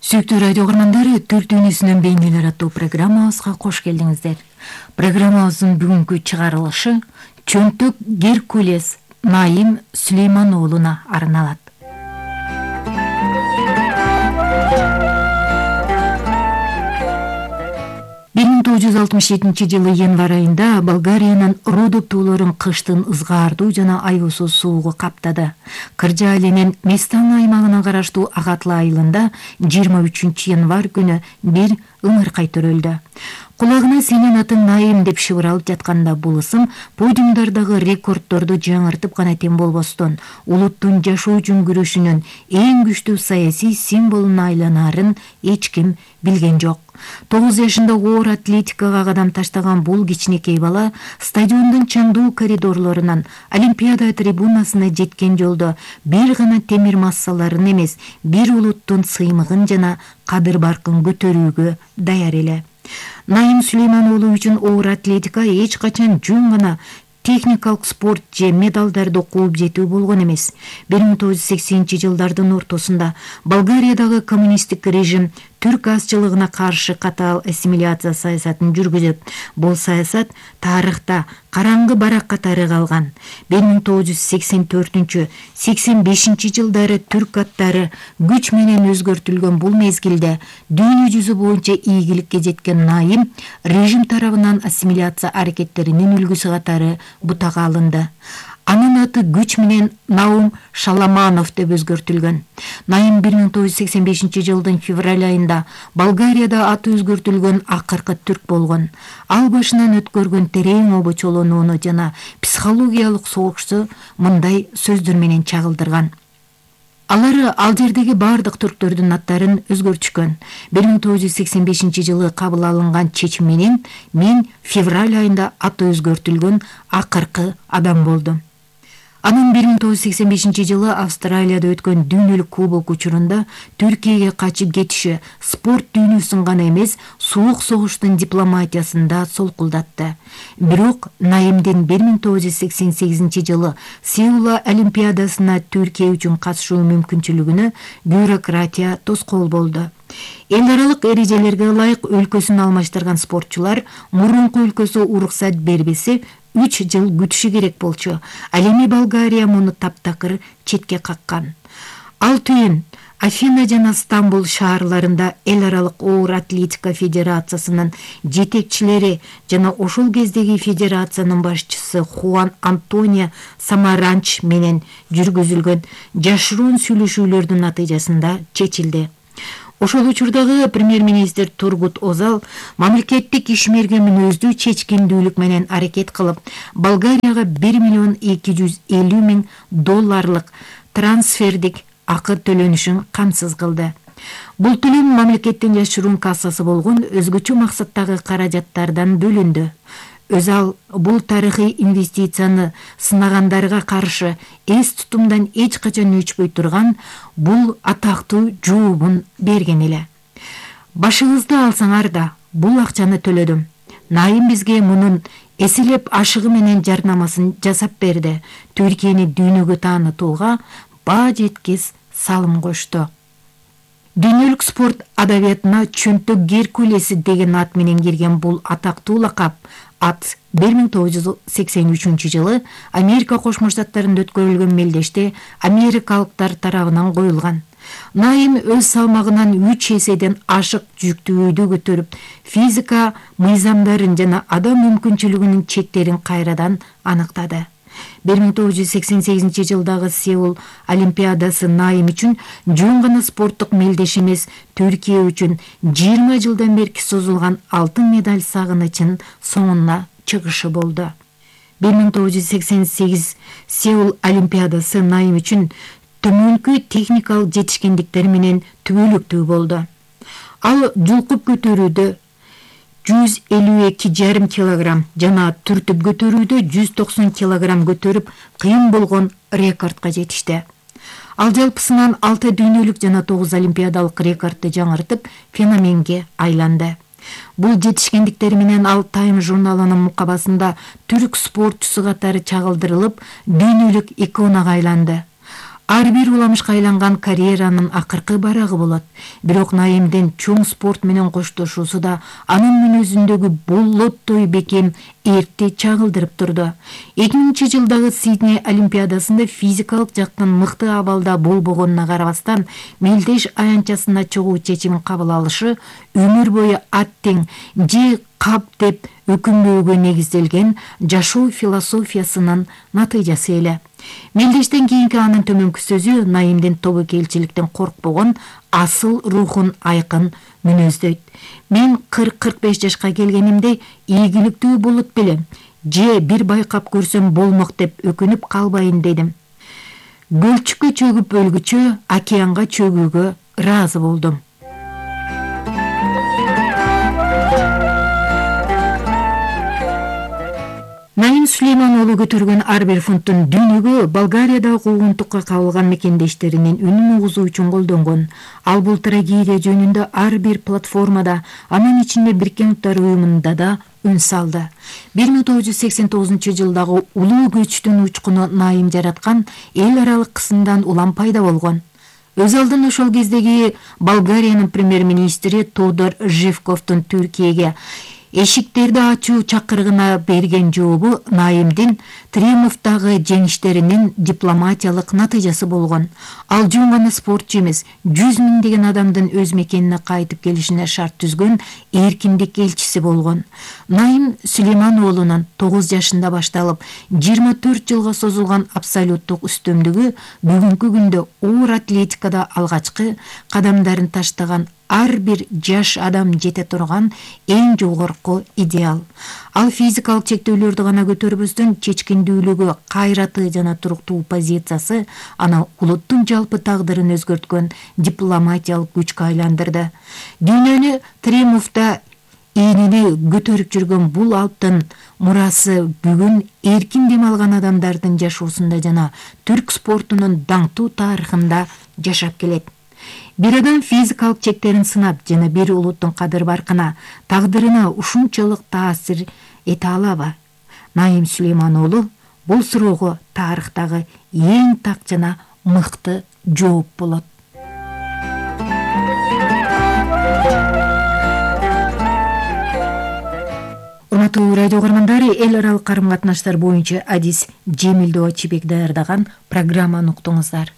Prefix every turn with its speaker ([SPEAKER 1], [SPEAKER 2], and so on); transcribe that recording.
[SPEAKER 1] Сүйүктүү радио угармандары, Түрк дүйнөсүнөн бейнелер аттуу программабызга кош келдиңиздер. Программабыздын бүгүнкү чыгарылышы Чөнтөк Геркулес Наим Сүлейман уулуна арналат. жылы январь айында Болгариянын Родоп таулорун кыштын ызгаардуу жана аюусуз суугу каптады. Кыржаалинин Местан аймагына караштуу Агатла айылында 23 январь күнү бир ыңыркай төрөлдү. Кулагына сенин атың Наим деп шыбыралып жатканда бул ысым подиумдардагы рекорддорду жаңыртып гана тең болбостон, улуттун жашоо үчүн күрөшүнүн эң күчтүү саясий символуна айланарын эч ким билген жок. 9 жашында оор атлетикага кадам таштаган бул кичинекей бала стадиондун чаңдуу коридорлорунан Олимпиада трибунасына жеткен жолдо бир гана темир массаларын эмес, бир улуттун сыймыгын жана кадыр-баркын көтөрүүгө даяр эле. Наим Сүлейман уулу үчүн оор атлетика эч качан жөн гана техникалык спорт же медалдарды кууп жетүү болгон эмес. 1980-жылдардын ортосунда Болгариядагы коммунисттик режим түрк азчылыгына каршы катаал ассимиляция саясатын жүргүзүп, бул саясат тарыхта караңгы барак катары калган. 1984-85 жылдары түрк аттары күч менен өзгөртүлгөн бул мезгилде дүйнө жүзү боюнча ийгиликке жеткен Наим режим тарабынан ассимиляция аракеттеринин үлгүсү катары бутага алынды. Анын аты күч менен Наум Шаламанов деп өзгөртүлгөн. Наим 1985 жылдын февраль айында Болгарияда аты өзгөртүлгөн акыркы түрк болгон. Ал башынан өткөргөн терең обочолонууну жана психологиялык согушту мындай сөздөр менен чагылдырган. Алар ал жердеги бардык түрктөрдүн аттарын өзгөртүшкөн. 1985 жылы кабыл алынган чечим менен мен февраль айында аты өзгөртүлгөн акыркы адам болдум. Анын 1985 жылы Австралияда өткөн дүйнөлүк кубок учурунда Түркияга качып кетиши спорт дүйнөсүн гана эмес, суук согуштун дипломатиясын да солкулдатты. Бирок Наимдин 1988 жылы Сеул Олимпиадасына Түркия үчүн катышуу мүмкүнчүлүгүнө бюрократия тоскоол болду. Эл аралык эрежелерге ылайык өлкөсүн алмаштырган спортчулар мурунку өлкөсү уруксат бербесе 3 жыл күтүшү керек болчу. Ал эми Болгария муну таптакыр четке каккан. Ал түйүн Афина жана Стамбул шаарларында эл аралык оор атлетика федерациясынын жетекчилери жана ошол кездеги федерациянын башчысы Хуан Антонио Самаранч менен жүргүзүлгөн жашыруун сүйлөшүүлөрдүн натыйжасында чечилди. Ошол учурдагы премьер-министр Тургут Озал мамлекеттик ишмерге мүнөздүү чечкиндүүлүк менен аракет кылып, Болгарияга 1,250,000 долларлык трансфердик акы төлөнүшүн камсыз кылды. Бул төлөм мамлекеттин жашыруун кассасы болгон өзгөчө максаттагы каражаттардан бөлүндү. Өзал бул тарыхый инвестицияны сынагандарга каршы эс тутумдан эч качан өчпөй турган бул атактуу жообун берген эле. Башыңызды алсаңар да бул акчаны төлөдүм. Наим бизге мунун эселеп ашыгы менен жарнамасын жасап берди. Түркияны дүйнөгө таанытууга баа жеткис салым кошту. Дүйнөлүк спорт адабиятына Чөнтөк Геркулеси деген ат менен кирген бул атактуу лакап ат 1983 жылы Америка Кошмо Штаттарында өткөрүлгөн мелдеште америкалыктар тарабынан коюлган. Наим өз салмагынан 3 эседен ашык жүктүүдү көтөрүп, физика мыйзамдарын жана адам мүмкүнчүлүгүнүн чектерин кайрадан аныктады. 1988 жылдагы Сеул Олимпиадасы Наим үчүн жөн гана спорттук мелдеш эмес, Түркия үчүн 20 жылдан бери созулган алтын медаль сагынычын соңуна чыгышы болду. 1988 Сеул Олимпиадасы Наим үчүн төмөнкү техникалык жетишкендиктер менен түбөлүктүү болду. Ал жулкуп көтөрүүдө 152,5 килограмм жана түртүп көтөрүүдө 190 килограмм көтөрүп кыйын болгон рекордко жетишти. Ал жалпысынан 6 дүйнөлүк жана 9 олимпиадалык рекордду жаңыртып феноменге айланды. Бул жетишкендиктери менен ал Time журналынын мукабасында түрк спортчусу катары чагылдырылып, дүйнөлүк иконага айланды. ар бир уламышка айланган карьеранын акыркы барагы болот. Бирок Наимдин чоң спорт менен коштошуусу да анын мүнөзүндөгү болоттой бекем эрте чагылдырып турду. 2000 жылдагы Сидней олимпиадасында физикалык жактан мыкты абалда болбогонуна карабастан, мелдеш аянтчасына чыгуу чечимин кабыл алышы өмүр бою аттең же кап деп өкүнбөөгө негизделген жашоо философиясынын натыйжасы эле. Мелдештен кийинки анын төмөнкү сөзү Наимдин тобокелчиликтен коркпогон асыл рухун айкын мүнөздөйт. Мен 40-45 жашка келгенимде ийгиликтүү болот белем же бир байкап көрсөм болмок деп өкүнүп калбайын дедим. Бөлчүккө чөгүп өлгүчө океанга чөгүүгө ыраазы болдум. Наим Сулейман уулу көтөргөн ар бир фунттун дүйнөгө Болгариядагы куугунтукка кабылган мекендештеринин үнүн угузуу үчүн колдонгон. Ал бул трагедия жөнүндө ар бир платформада, анын ичинде Бириккен Уттар уюмунда да үн салды. 1989 жылдагы улуу көчтүн учкуну Наим жараткан эл аралык кысымдан улам пайда болгон. Өз алдына ошол кездеги Болгариянын премьер-министри Тодор Живковдун Түркияге эшиктерди ачуу чакырыгына берген жообу Наимдин Триумфтагы жеңиштеринин дипломатиялык натыйжасы болгон. Ал жөн гана спортчу эмес, 100 миңдеген адамдын өз мекенине кайтып келишине шарт түзгөн эркиндик элчиси болгон. Наим Сулейман уулунун 9 жашында башталып 24 жылга созулган абсолюттук үстөмдүгү бүгүнкү күндө оор атлетикада алгачкы кадамдарын таштаган ар бир жаш адам жете турган эң жогорку идеал. Ал физикалык чектөөлөрдү гана көтөрбөстөн чечкиндүүлүгү, кайраты жана туруктуу позициясы аны улуттун жалпы тагдырын өзгөрткөн дипломатиялык күчкө айландырды. Дүйнөнү Триумфта ийнени көтөрүп жүргөн бул алптын мурасы бүгүн эркин дем алган адамдардын жашоосунда жана түрк спортунун даңктуу тарыхында жашап келет. Бир адам физикалык чектерин сынап жана бир улуттун кадыр-баркына, тагдырына ушунчалык таасир эте алабы? Наим Сулейман уулу бул суроого тарыхтагы эң так жана мыкты жооп болот. Урматтуу радио көрөрмандары, эл аралык карым-катнаштар боюнча адис Жемилдөө Чибек даярдаган программаны уктуңуздар.